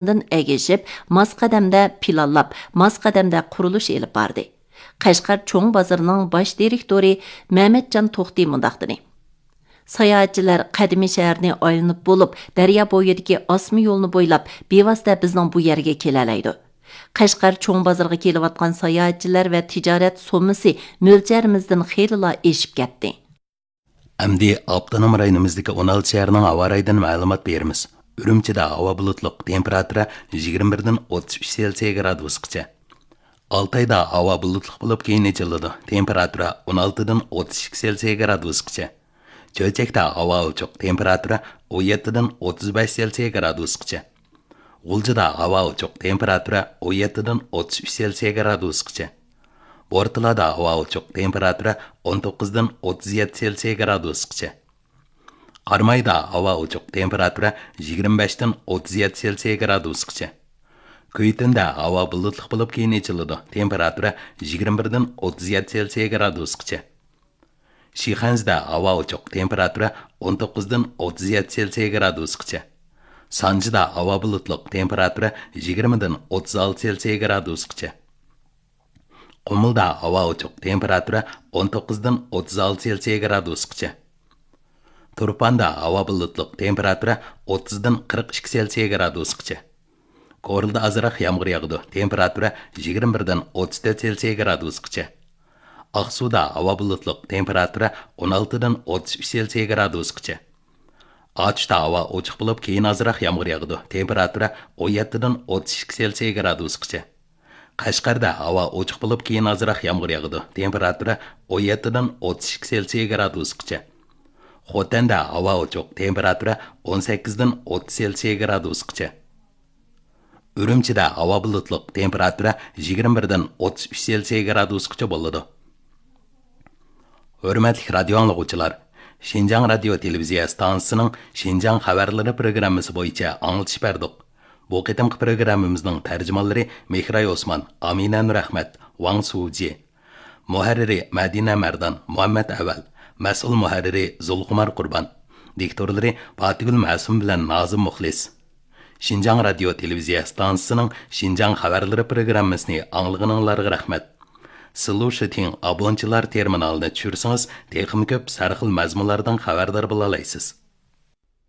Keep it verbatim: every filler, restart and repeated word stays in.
ئەگىشىپ، ماس قەدەمدە پىلانلاپ، ماس قەدەمدە قۇرۇلۇش ئېلىپ باردى. قەشقەر چوڭ بازىرىنىڭ باش دىرېكتورى مەمەتجان توختى مۇنداق دېدى: ساياھەتچىلەر قەدىمىي شەھەرنى ئايلىنىپ بولۇپ، دەريا بويىدىكى ئاسما يولنى بويلاپ، بىۋاسىتە بىزنىڭ بۇ يەرگە كېلەلەيدۇ. قەشقەر چوڭ بازىرىغا كېلىۋاتقان ساياھەتچىلەر ۋە تىجارەت سوممىسى مۆلچەرىمىزدىن خېلىلا ئېشىپ كەتتى. ئەمدى ئاپتونوم رايونىمىزدىكى ئون ئالتە شەھەرنىڭ ھاۋا رايىدىن مەلۇمات بېرىمىز. ئۈرۈمچىدە ھاۋا بۇلۇتلۇق، تېمپېراتۇرا يىگىرمە بىردىن ئوتتۇز ئۈچ سېلسىيە گرادۇسقىچە. ئالتايدا ھاۋا بۇلۇتلۇق بولۇپ، كېيىن ئېچىلىدۇ، تېمپېراتۇرا ئون ئالتىدىن ئوتتۇز ئىككى سېلسىيە گرادۇسقىچە. چۆچەكتە ھاۋا ئوچۇق، تېمپېراتۇرا ئون يەتتىدىن ئوتتۇز بەش سېلسىيە گرادۇسقىچە. غۇلجىدا ھاۋا ئوچۇق، تېمپېراتۇرا ئون يەتتىدىن ئوتتۇز ئۈچ سېلسىيە گرادۇسقىچە. بورتالادا ھاۋا ئوچۇق، تېمپېراتۇرا ئون توققۇزدىن ئوتتۇز يەتتە سېلسىيە گرادۇسقىچە. قارامايدا ھاۋا ئوچۇق، تېمپېراتۇرا يىگىرمە بەشتىن ئوتتۇز يەتتە سېلسىيە گرادۇسقىچە. كۈيتۈندە ھاۋا بۇلۇتلۇق بولۇپ، كېيىن ئېچىلىدۇ، تېمپېراتۇرا يىگىرمە بىردىن ئوتتۇز يەتتە سېلسىيە گرادۇسقىچە. شىخەنزىدە ھاۋا ئوچۇق، تېمپېراتۇرا ئون توققۇزدىن ئوتتۇز يەتتە سېلسىيە گرادۇسقىچە. سانجىدا ھاۋا بۇلۇتلۇق، تېمپېراتۇرا يىگىرمىدىن ئوتتۇز ئالتە سېلسىيە گرادۇسقىچە. قۇمۇلدا ھاۋا ئوچۇق، تېمپېراتۇرا ئون توققۇزدىن ئوتتۇز ئالتە سېلسىيە گرادۇسقىچە. تۇرپاندا ھاۋا بۇلۇتلۇق، تېمپېراتۇرا ئوتتۇزدىن قىرىق ئىككى سېلسىيە گرادۇسقىچە. كورلىدا ئازراق يامغۇر ياغىدۇ، تېمپېراتۇرا يىگىرمە بىردىن ئوتتۇز تۆت سېلسىيە گرادۇسقىچە. ئاقسۇدا ھاۋا بۇلۇتلۇق، تېمپېراتۇرا ئون ئالتىدىن ئوتتۇز ئۈچ سېلسىيە گرادۇسقىچە. ئاتۇشتا ھاۋا ئوچۇق بولۇپ، كېيىن ئازراق يامغۇر ياغىدۇ، تېمپېراتۇرا ئون يەتتىدىن ئوتتۇز ئىككى سېلسىيە گرادۇسقىچە. قەشقەردە ھاۋا ئوچۇق بولۇپ، كېيىن ئازراق يامغۇر ياغىدۇ، تېمپېراتۇرا ئون يەتتىدىن ئوتتۇز ئىككى سېلسىيە گرادۇسقىچە. خوتەندە ھاۋا ئوچۇق، تېمپېراتۇرا ئون سەككىزدىن ئوتتۇز سېلسىيە گرادۇسقىچە. ئۈرۈمچىدە ھاۋا بۇلۇتلۇق، تېمپېراتۇرا يىگىرمە بىردىن ئوتتۇز ئۈچ سېلسىيە گرادۇسقىچە بولىدۇ. ھۆرمەتلىك رادىيو ئاڭلىغۇچىلار، شىنجاڭ رادىيو تېلېۋىزىيە ئىستانسىسىنىڭ شىنجاڭ خەۋەرلىرى پروگراممىسى بويىچە ئاڭلىتىش بەردۇق. بۇ قېتىمقى پروگراممىمىزنىڭ تەرجىمانلىرى مېھراي ئوسمان، ئامىنە نۇرئەخمەت، ۋاڭ سۇجى. مۇھەررىرى مەدىنە مەردان، مۇھەممەت ئەۋەل. مەسئۇل مۇھەررىرى زۇلخۇمار قۇربان. دىكتورلىرى پاتىگۈل مەسۇم بىلەن نازىم مۇخلىس. شىنجاڭ رادىيو تېلېۋىزىيە ئىستانسىسىنىڭ شىنجاڭ خەۋەرلىرى پروگراممىسىنى ئاڭلىغىنىڭلارغا رەھمەت. سىلۇشىتىڭ ئابونچىلار تېرمىنالىنى چۈشۈرسىڭىز، تېخىمۇ كۆپ سەرخىل مەزمۇنلاردىن خەۋەردار بولالايسىز.